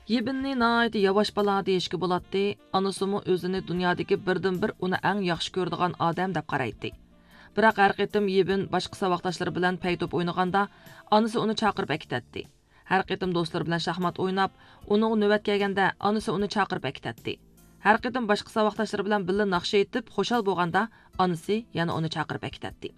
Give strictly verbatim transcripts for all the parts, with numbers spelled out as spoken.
يىبىننى ناھايىتى ياۋاش بالا دېيىشكە بولاتتى، ئانىسىمۇ ئۆزىنى دۇنيادىكى بىردىنبىر ئۇنى ئەڭ ياخشى كۆرىدىغان ئادەم دەپ قارايتتى. بىراق ھەر قېتىم يىبىن باشقا ساۋاقداشلىرى بىلەن پەي توپ ئوينىغاندا، ئانىسى ئۇنى چاقىرىپ ئەكېتەتتى. ھەر قېتىم دوستلىرى بىلەن شاھمات ئويناپ، ئۇنىڭغا نۆۋەت كەلگەندە، ئانىسى ئۇنى چاقىرىپ ئەكېتەتتى. ھەر قېتىم باشقا ساۋاقداشلىرى بىلەن بىللە ناخشا ئېيتىپ خۇشال بولغاندا، ئانىسى يەنە ئۇنى چاقىرىپ ئەكېتەتتى.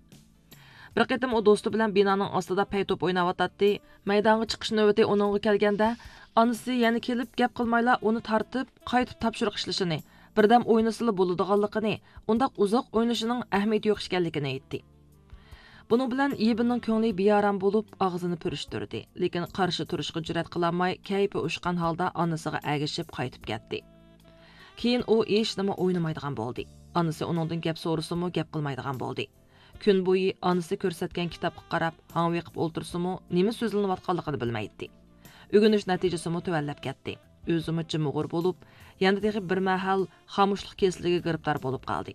بىر قېتىم ئۇ دوستى بىلەن بىنانىڭ ئاستىدا پەي توپ ئويناۋاتاتتى. مەيدانغا چىقىش نۆۋىتى ئۇنىڭغا كەلگەندە، ئانىسى يەنە كېلىپ گەپ قىلمايلا ئۇنى تارتىپ، قايتىپ تاپشۇرۇق ئىشلىشىنى، بىردەم ئوينىسىلا بولىدىغانلىقىنى، ئۇنداق ئۇزاق ئوينىشىنىڭ ئەھمىيىتى يوق ئىكەنلىكىنى ئېيتتى. بۇنىڭ بىلەن يىبىننىڭ كۆڭلى بىئارام بولۇپ، ئاغزىنى پۈرۈشتۈردى، لېكىن قارشى تۇرۇشقا جۈرئەت قىلالماي، كەيپى ئۇشقان ھالدا ئانىسىغا ئەگىشىپ قايتىپ كەتتى. كېيىن ئۇ ھېچنېمە ئوينىمايدىغان بولدى. ئانىسى ئۇنىڭدىن گەپ سورىسىمۇ، گەپ قىلمايدىغان بولدى. كۈن بويى ئانىسى كۆرسەتكەن كىتابقا قاراپ، ھاڭۋېقىپ ئولتۇرسىمۇ، نېمە سۆزلىنىۋاتقانلىقىنى بىلمەيتتى. ئۆگىنىش نەتىجىسىمۇ تۆۋەنلەپ كەتتى. ئۆزىمۇ جىمىغۇر بولۇپ، يەنە تېخى بىر مەھەل خامۇشلۇق كېسىلىگە گىرىپتار بولۇپ قالدى.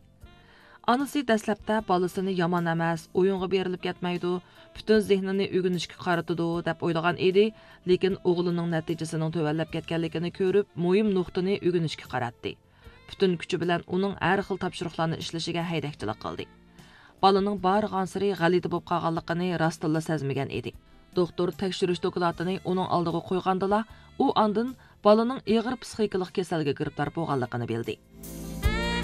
ئانىسى دەسلەپتە بالىسىنى يامان ئەمەس، ئويۇنغا بېرىلىپ كەتمەيدۇ، پۈتۈن زېھنىنى ئۆگىنىشكە قارىتىدۇ، دەپ ئويلىغان ئىدى، لېكىن ئوغلىنىڭ نەتىجىسىنىڭ تۆۋەنلەپ كەتكەنلىكىنى كۆرۈپ، مۇھىم نۇقتىنى ئۆگىنىشكە قاراتتى. پۈتۈن كۈچى بىلەن ئۇنىڭ ھەر خىل تاپشۇرۇقلارنى ئىشلىشىگە ھەيدەكچىلىك قىلدى. بالىنىڭ بارغانسېرى غەلىتە بولۇپ قالغانلىقىنى راستتىنلا سەزمىگەن ئىدى. دوختۇر تەكشۈرۈش دوكلاتىنى ئۇنىڭ ئالدىغا قويغاندىلا، ئۇ ئاندىن بالىنىڭ ئېغىر پسىخىكىلىق كېسەلگە گىرىپتار بولغانلىقىنى بىلدى.